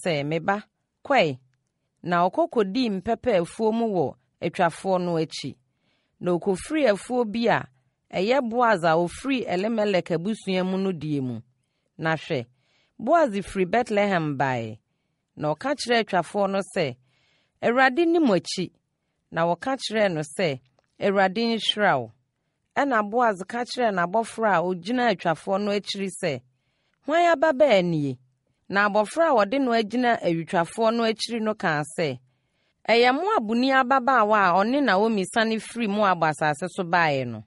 sɛ, Me ba, kɔ ɛ! Na ɔkɔ kɔdii mpɛpɛ afuo mu wɔ atwafoɔ no akyi. Na ɔkɔfirii afuo bi a ɛyɛ Boas a ɔfiri Elimelek abusua mu no deɛ mu. Na hwɛ, Boas firi Betlehem baeɛ, na ɔka kyerɛɛ atwafoɔ no sɛ, Awurade nni mo akyi. Na wɔka kyerɛɛ no sɛ, Awurade nhyira wo. Ɛnna Boas ka kyerɛɛ n'abɔfra a ɔgyina atwafoɔ no akyiri sɛ, Hwan ababaa nie? Na abɔfra a wɔde no agyina awitwafoɔ no akyiri no kaa sɛ, Ɛyɛ Moabni ababaawa a ɔne Naomi sane firi Moab asase so baeɛ no.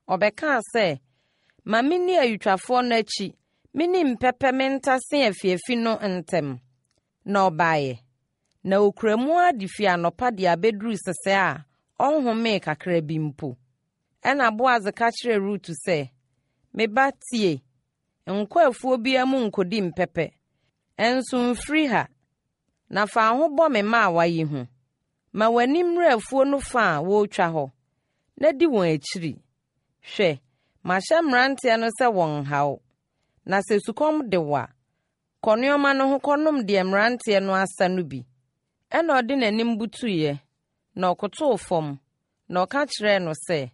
Ɔbɛkaa sɛ, Ma menni awitwafoɔ no akyi, menni mpɛpɛ mentase afiafi no ntam. Na ɔbaeɛ, na ɔkura mu ara de firi anɔpa de abɛduru sesɛɛ a ɔnhomee kakra bi mpo. Ɛnna Boas ka kyerɛɛ Rut sɛ, Me ba, tie, nkɔ afuo biara mu nkɔdi mpɛpɛ, nso mfiri ha, na fa wo ho bɔ me mmaawa yi ho. Ma w'ani mmere afuo no fa a wɔretwa hɔ, na di wɔn akyiri. Hwɛ, mahyɛ mmeranteɛ no sɛ wɔnnha wo. Na sɛ sukɔm de wo a, Kɔ nnoɔma no ho kɔnom deɛ mmeranteɛ no asa no bi. Ɛnna ɔde n'anim butuiɛ, na ɔkotoo fam, na ɔka kyerɛɛ no sɛ,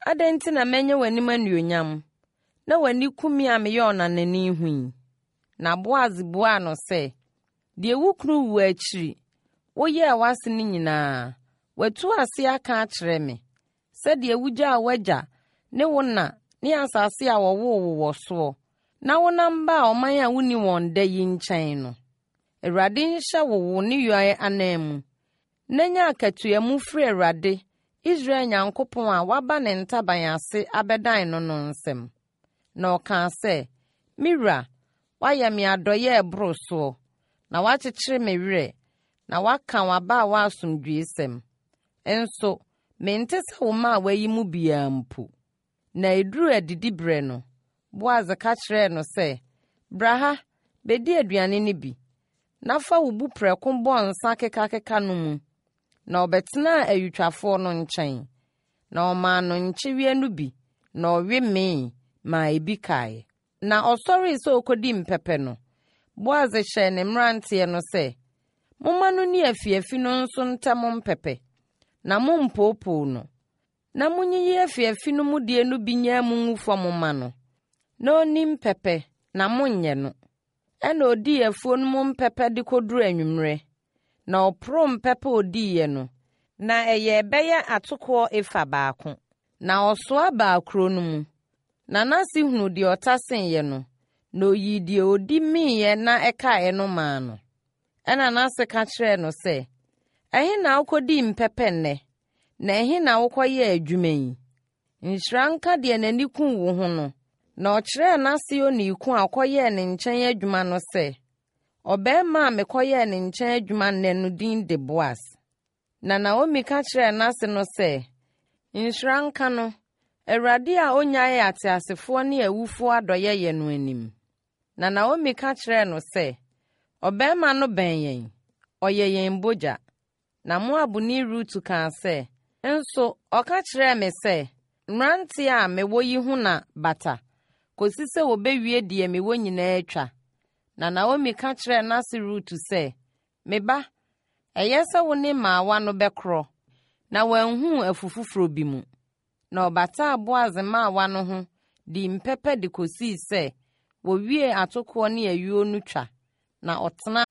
Adɛn nti na manya w'anim anuonyam, na w'ani ku me a meyɛ ɔnanani ho yi? Na Boas buaa no sɛ, Deɛ wo kunu wuo akyiri woyɛɛ w'ase no nyinaa, watu ase aka akyerɛ me, sɛdeɛ wugyaa w'agya ne wo na ne asase a wɔwoo wo wɔ soɔ, na wonam baa ɔman a wonni wɔn da yi nkyɛn no. Awurade nhyɛ wo wo nneyɔɛ ananmu, na nya akatua mu firi Awurade, Israel Nyankopɔn a woaba ne ntaban ase abɛdan no no nsam. Na ɔkaa sɛ, Me wura, woayɛ me adɔeɛ a ɛboro soɔ, na woakyekyere me werɛ, na woaka w'abaawa asomdwoeɛsɛm. Nso mente sɛ wo mmaawa yi mu biara mpo. Na ɛduruu adidiberɛ no, Boas ka kyerɛɛ no sɛ, Bra ha, bɛdi aduane no bi, na fa wo buprɛko bɔ nsa kekakeka no mu. Na ɔbɛtenaa ayutwafoɔ no nkyɛn, na ɔmaa no nkyeweɛ no bi, na ɔwe mee maa ebi kaeɛ. Na ɔsɔree sɛ ɔrekɔdi mpɛpɛ no, Boas hyɛɛ ne mmeranteɛ no sɛ, Momma no nni afiafi no nso ntam mpɛpɛ, na mommpoopoo no. Na monyiyi afiafi no mu deɛ no bi nyaa mu ngu fam mma no, na ɔnni mpɛpɛ, na monnyɛ no. Ɛnna ɔdii afuo no mu mpɛpɛ de kɔduruu anwummerɛ, na ɔporoo mpɛpɛ a ɔdiiɛ no, na ɛyɛɛ bɛyɛ atokoɔ efa baako. Na ɔsoa baa kuro no mu, na n'ase hunuu deɛ ɔtaseeɛ no, na ɔyii deɛ ɔdi meeɛ na ɛkaeɛ no maa no. Ɛnna n'ase ka kyerɛɛ no sɛ, Ɛhe na wokɔdii mpɛpɛ nnɛ, na ɛhe na wokɔyɛɛ adwuma yi? Nhyira nka deɛ n'ani kuu wo ho no. Na ɔkyerɛɛ n'ase onii ko a ɔkɔyɛɛ ne nkyɛn adwuma no sɛ, Ɔbarima a mekɔyɛɛ ne nkyɛn adwuma nnɛ no din de Boas. Na Naomi ka kyerɛɛ n'ase no sɛ, Nhyira nka no, Awurade a ɔnnyaee ateasefoɔ ne awufoɔ adɔeɛyɛ no anim. Na Naomi ka kyerɛɛ no sɛ, Ɔbarima no bɛn yɛn, ɔyɛ yɛn bogya. Na Moabni Rut kaa sɛ, Nso ɔka kyerɛɛ me sɛ, 'Mmeranteɛ a mewɔ yi ho na bata, kɔsi sɛ wɔbɛwie deɛ mewɔ nyinaa twa. Na Naomi ka kyerɛɛ n'ase Rut sɛ, Me ba, ɛyɛ sɛ wo ne mmaawa no bɛkorɔ, na wɔanhu wo afu foforɔ bi mu. Na ɔbataa Boas mmaawa no ho dii mpɛpɛ de kɔsii sɛ wɔwiee atokoɔ ne ayuo no twa, na ɔtenaa.